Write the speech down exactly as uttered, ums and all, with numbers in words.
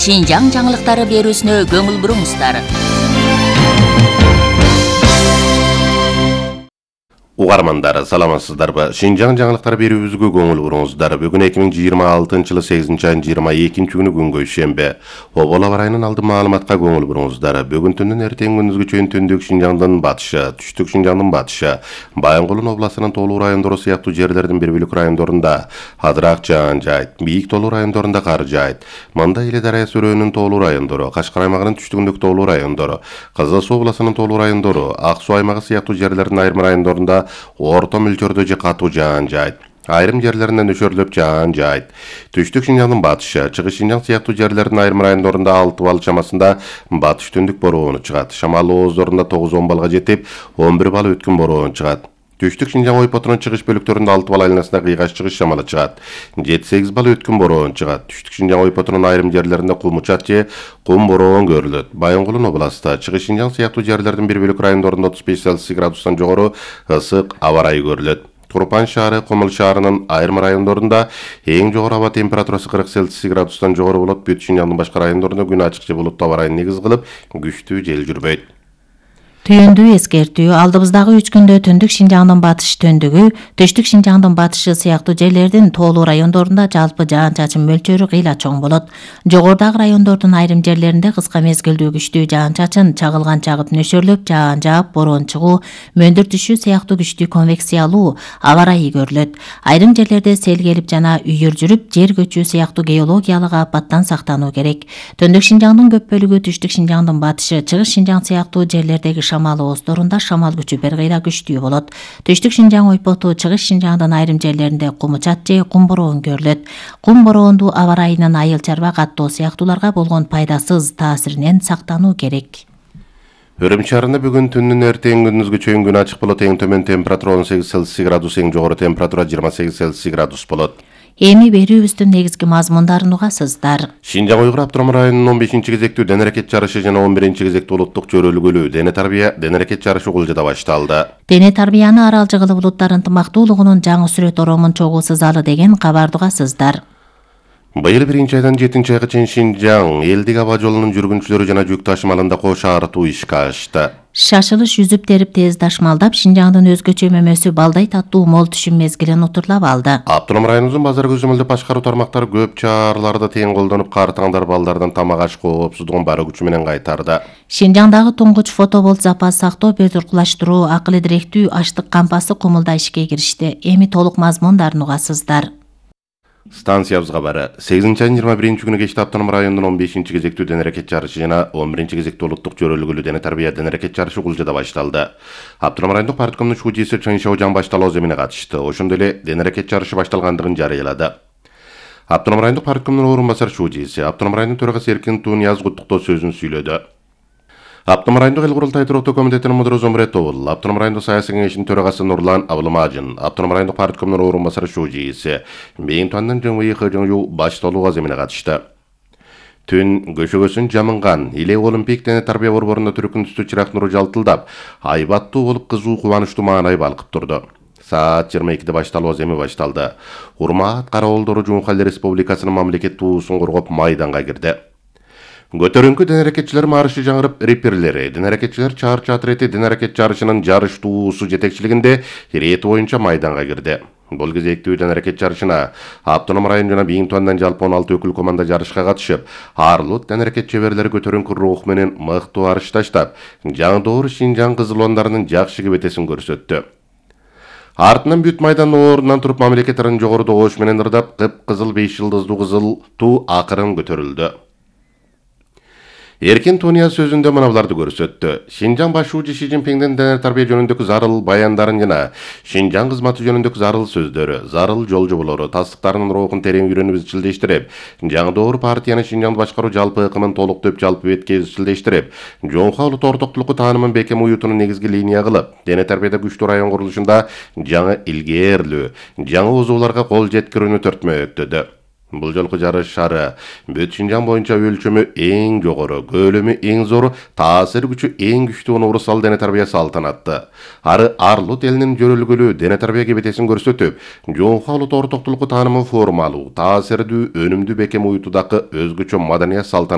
Шинжаң жаңылыктары берүүсүнө көңүл буруңуздар. Угармандар, саламатсыздарбы? Шинжаң жаңылыктары берүүбүзгө көңүл буруңуздар. Бүгүн эки миң жыйырма алтынчы жылы сегизинчи айдын жыйырма экинчи күнү күнгө шембе. Обол аба ырайынын алдын маалыматка көңүл буруңуздар. Бүгүн түндүн эртең күндүзгө чейин түндүк Шинжаңдын батышы, түштүк Шинжаңдын батышы, Байынгулун областынын толуу райондору сыяктуу жерлердин бир бөлүк райондорунда азыраак жаан жайт, бийик толуу райондорунда кар жайт. Мында Иле Дарая Сөрөөнүн толуу райондору, Кашкар аймагынын түштүгүндөгү толуу райондору, Кызыл Суу областынын толуу райондору, Ак Суу аймагы сыяктуу жерлердин айрым райондорунда орто мөлчөрдө же катуу жаан жайт. Айрым жерлеринде нөшөрлөп жаан жайт. Түштүк Шинжаңдын батышы, Чыгыш Шинжаң сыяктуу жерлердин айрым райондорунда алты балл чамасында батыш түндүк бороону чыгат. Шамал ооздорунда тогуз он баллга жетип, он бир балл өткүн бороону чыгат. Түштүк Шинжаң ойпотунун чыгыш бөлүктөрүндө алты балл айланасында кыйгаш чыгыш шамалы чыгат. жети сегиз балл өткүн бороону чыгат. Түштүк Шинжаң ойпотунун айрым жерлеринде кумучат же кум бороон көрүлөт. Байынгулун областында Чыгыш Шинжаң сыяктуу жерлердин бир бөлүк райондорунда отуз беш Цельсий градустан жогору ысык аба ырайы көрүлөт. Турпан шаары, Комул шаарынын айрым райондорунда эң жогору аба температурасы кырк Цельсий градустан жогору болот. Бүт Шинжаңдын башка райондорунда күн ачык же булуттуу аба ырайын негиз кылып, күчтүү жел жүрбөйт. Түйүндүү эскертүү. Алдыбыздагы үч күндө түндүк Шинжаңдын батыш төндүгү, түштүк Шинжаңдын батышы сыяктуу жерлердин толуу райондорунда жалпы жаан-чачын мөлчөрү кыйла чоң болот. Жогорудагы райондордун айрым жерлеринде кыска мезгилдүү күчтүү жаан-чачын, чагылган чагып нөшөрлөп жаан жаап, бороон чыгуу, мөндүр түшүү сыяктуу күчтүү конвекциялуу аба ырайы көрүлөт. Айрым жерлерде сел келип жана үйүр жүрүп, жер көчүү сыяктуу геологиялык апаттан сактануу керек. Түндүк Шинжаңдын көп бөлүгү, түштүк Шинжаңдын батышы, Чыгыш Шинжаң сыяктуу жерлердеги шамал ооздорунда шамал күчү бир кыйла күчтүү болот. Түштүк Шинжаң ойпоту, Чыгыш Шинжаңдын айрым жерлеринде кумучат же кум бороон көрүлөт. Кум бороондуу аба ырайынын айыл чарба каттоо сыяктууларга болгон пайдасыз таасиринен сактануу керек. Өрөм шаарында бүгүн түндүн эртең күндүзгө чейин күн ачык болот. Эң төмөн температура он сегиз Цельсий градус, эң жогору температура жыйырма сегиз Цельсий градус болот. Эми берүүбүздүн негизги мазмундарын угасыздар. Шинжаң Уйгур автономдук районунун он бешинчи кезектүү дене аракет жарышы жана он биринчи кезектүү улуттук чөйрөлгүлүү дене тарбия дене аракет жарышы Кулжада башталды. Дене тарбияны Арал Жыгылы булуттар ынтымактуулугунун жаңы сүрөт оромун чогуу сызалы деген кабарды угасыздар. Быйыл биринчи айдан жетинчи айга чейин Шинжаң элдик аба жолунун жүргүнчүлөрү жана жүк ташымалында кош артуу ишке ашты. Шашылыш жүзүп терип тез дашмалдап, Шинжаңдын өзгөчө мөмөсү балдай таттуу мол түшүм мезгилин утурлап алды. Автономдук районубуздун базар көзөмөлдөп башкаруу тармактары көп чараларды тең колдонуп, картаңдар балдардан тамак аш коопсуздугун бары күчү менен кайтарды. Шинжаңдагы туңгуч фотоболт запас сактоо, бөтүркулаштыруу, акыл идиректүү аштык кампасы Кумулда ишке киришти. Эми толук мазмундарын угасыздар. Станциябызга бары сегизинчи айдын жыйырма биринчи күнү кечте автономдук районунун он бешинчи кезектүү дене аракет жарышы жана он биринчи кезектүү улуттук чөйрөлгүлүү дене тарбия дене аракет жарышы Кулжада башталды. Автономдук райондук парткомдун шужиси Чыңшоожан башталуу эмине катышты. Ошондой эле дене аракет жарышы башталгандыгын жарыялады. Автономдук райондук парткомдун орун басар шужиси, автономдук райондун төрагасы Эркин Тунияз куттуктоо сөзүн сүйлөдү. Автономдук райондук эл курултай туруктуу комитетинин мудуру Зомрет Оул, автономдук райондук саясий кеңешинин төрагасы Нурлан Абылмажин, автономдук райондук парткомдун орун басары шужиси Бейинтуандын Жыңвый Хыжыңжуу башталууга эмине катышты. Түн көшөгөсүн жамынган Иле Олимпик дене тарбия борборунда түркүн түстүү чырак нуру жалтылдап, айбаттуу болуп кызуу кубанычтуу маанай балкып турду. Саат жыйырма экиде башталуу эми башталды. Урмат караболдору Жумка Эл Республикасынын мамлекет туусун коргоп майданга кирди. Көтөрүңкү дене аракетчилер маршы жаңырып, реперлери, дене аракетчилер чаар чатырети дене аракет жарышынын жарыш туусу жетекчилигинде ирети боюнча майданга кирди. Бул кезектүү дене аракет жарышына автономдук район жана Бейинтуандан жалпы он алты өкүл команда жарышка катышып, арлут дене аракет чеберлери көтөрүңкү рух менен мыктуу арыш таштап, жаңдоор Шинжаң кызылондарынын жакшы кебетесин көрсөттү. Артынан бүт майдандын ордунан туруп мамлекеттерин жогоруда ош менен ырдап, кып-кызыл беш жылдыздуу кызыл туу акырын көтөрүлдү. Эркин Тунияз сөзүндө мыналарды көрсөттү. Шинжаң башчысы Ши Цзиньпиңдин дене тарбия жөнүндөгү зарыл баяндарын жана Шинжаң кызматы жөнүндөгү зарыл сөздөрү, зарыл жол жоболору тастыктарынын рухун терең үйрөнүп изчилдештирип, жаңдоор партияны Шинжаңды башкаруу жалпы ыкымын толуктоп жалпы бетке изчилдештирип, жоңка улут ортоктулуку таанымын бекем уютууну негизги линия кылып, дене тарбияда күчтүү район курулушунда жаңы илгээрлүү, жаңы узууларга кол жеткирүүнү төртмө өктөдү. Бул жолку жарыш шары бүт Шинжаң боюнча өлчөмү эң жогору, көлөмү эң зору, таасир күчү эң күчтүү универсал дене тарбия салтанатты. Ары Арлут элинин жөрөлгөлүү дене тарбия кебетесин көрсөтүп, жоңку алут ортоктулуку таанымы формалуу, таасирдүү, өнүмдүү бекем уютуудагы өзгөчө маданият салтанат